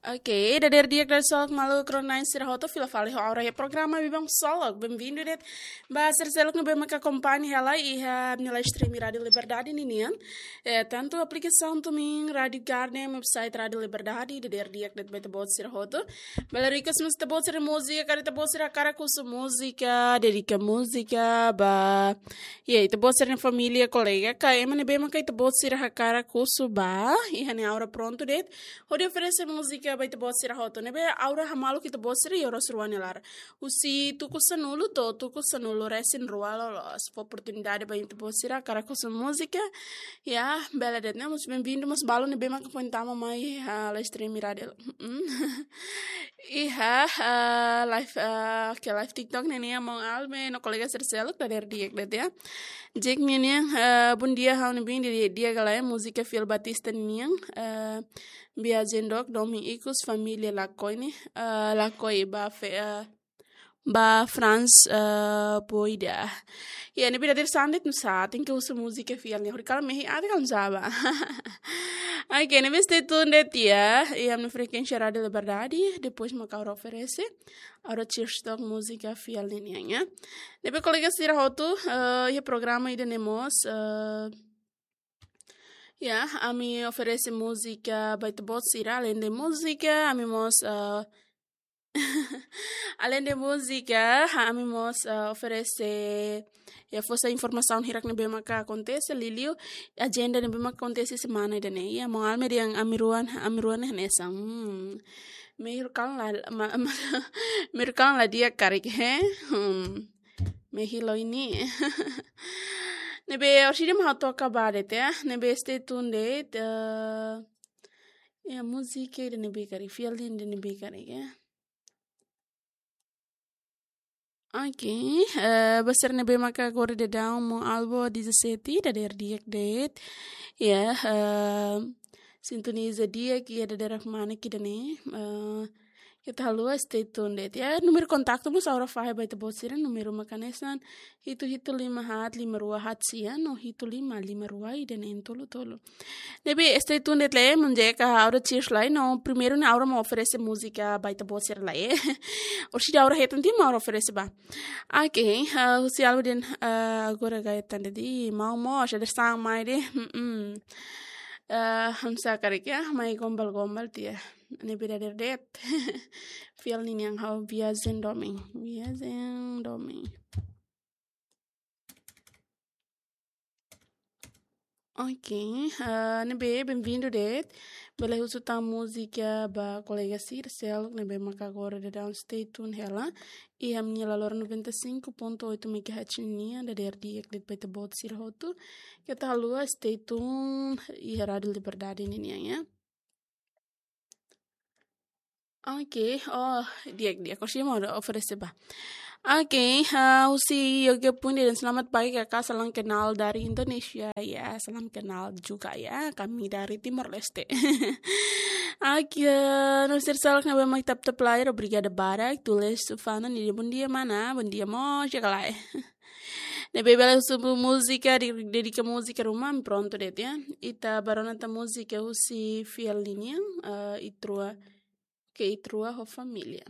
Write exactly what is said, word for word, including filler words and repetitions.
Oke, dadeer di'ak, dadeer seluk maluk rona-na'in sira hotu, fila fali ho Aura iha programa Biban Solok. Bem-vindo de'it ba sira seluk ne'ebé maka akompaña hela iha nia live stream Rádio Liberdade ninian. Eh, tantu aplikasaun TuneIn, Rádio Garden, website Rádio Liberdade, dadeer di'ak de'it ba ita-boot sira hotu. Bele request mós ita-boot sira múzika, karik ita-boot sira hakarak husu múzika, dedika múzika ba, ya, ita-boot sira-nia família, kolega, ka ema ne'ebé maka ita-boot sira hakarak husu ba, iha ne'e Aura prontu de'it hodi oferese múzika ba ita-boot sira hotu. Ne'ebé Aura hamaluk ita-boot sira iha oras rua nia laran. Husi tuku sanulu to'o tuku sanulu-resin-rua loloos. Fó oportunidade ba ita-boot sira hakarak husu múzika. Ya, bele de'it, ne'e? Mós bem-vindo, mós balu ne'ebé maka foin tama mai iha live stream rádio. Mm. Iha, ah, live, ah, ke live TikTok ne'e nian, maun Alme no kolega sira seluk, dadeer di'ak de'it, ya. Jack nian, ah, bom dia, ha'u-nia biin, di'ak ka lae, múzika Fiel Batista nian, ah, Viajen dook, domin ikus, família lakohi ne'e, ah, lakohi ba fe-, ah, ba Frans, ah, Boida. Ya, ne'ebé dadeer-saan de'it nusá, tenke husu múzika Fiel nian. Hori kala mehi aat ka lae, nusá ba. Oke, ne'ebé stay tuned de'it, ya. Iha ami-nia frekuénsia Rádio Liberdade, depois maka Aura oferese. Aura cheers tok múzika Fiel ninian, ya. Ne'ebé kolega sira hotu, eh, iha programa ida-ne'e mós, eh, ya, ami oferese múzika ba ita-boot sira, além de múzika, ami mós, eh, além de múzika, ha, ami mós, eh, oferese, ya, fó sai informasaun hirak ne'ebé maka akontese, liuliu ajenda ne'ebé maka akontese semana ida-ne'e. Ya, maun Alme dehan ami rua, ami rua ne'e hanesan. Hmm. Mehi kalan la, ma, ma, mehi kalan la di'ak karik, he? Hmm. Mehi loos ne'e. Ne'ebé orsida mak ha'u toka ba de'it, ya. Ne'ebé stay tuned de'it, eh, ya, múzika ida-ne'ebé karik, Fiel ida-ne'ebé karik, ya. Oke, eh, ba sira ne'ebé maka agora daudaun mak albo dezassete, dadeer di'ak de'it. Ya, eh, sintoniza di'ak iha dadeer kmanek ida-ne'e. Eh, keta haluha stay tuned de'it, ya. Númeru kontaktu mós Aura fahe ba ita-boot sira, númeru maka hanesan hitu hitu lima haat lima rua haat sia no hitu lima lima rua ida neen tolu tolu. Ne'ebé stay tuned de'it, le, manje ka Aura cheers lai, no primeiru ne'e Aura mak oferese múzika ba ita-boot sira lai, eh. Orsida Aura hetan tiha mak Aura oferese ba. Oke, ah, husi alma dehan, ah, agora gaya tanda di, maun mós, dadeer-saan mai de'it, mm-mm. Ah, hanesan karik, ya, mai gombal-gombal tiha. Ne'ebé dadeer de'it. Fiel ninian, ha'u Viajen domin. Viajen domin. Oke, ah, ne'ebé bem-vindo de'it. Bele husu tan múzika ba kolega sira seluk ne'ebé maka agora daudaun stay tuned hela iha ami-nia laloran noventa e cinco ponto oito megahertz nian, dadeer di'ak de'it ba ita-boot sira hotu. Keta haluha stay tuned iha Rádio Liberdade ninian, ya. Oke, oh, di'ak, di'ak. Orsida mak oferese ba. Oke, ah, husi Yoga Pundi dehan selamat pagi kakak, salam kenal dari Indonesia. Ya, salam kenal juga ya, kami dari Timor Leste. Oke, no sira seluk ne'ebé mak tap-tap layar, obrigada barak. Tulis Sufana nia dehan bom dia mana, bom dia mós, ya ka lae. Ne'ebé bele husu múzika, di, dedika múzika ruma, prontu de'it, ya. Ita bá rona tan múzika husi Fiel ninian, eh, Itrua, ke Itrua ho família.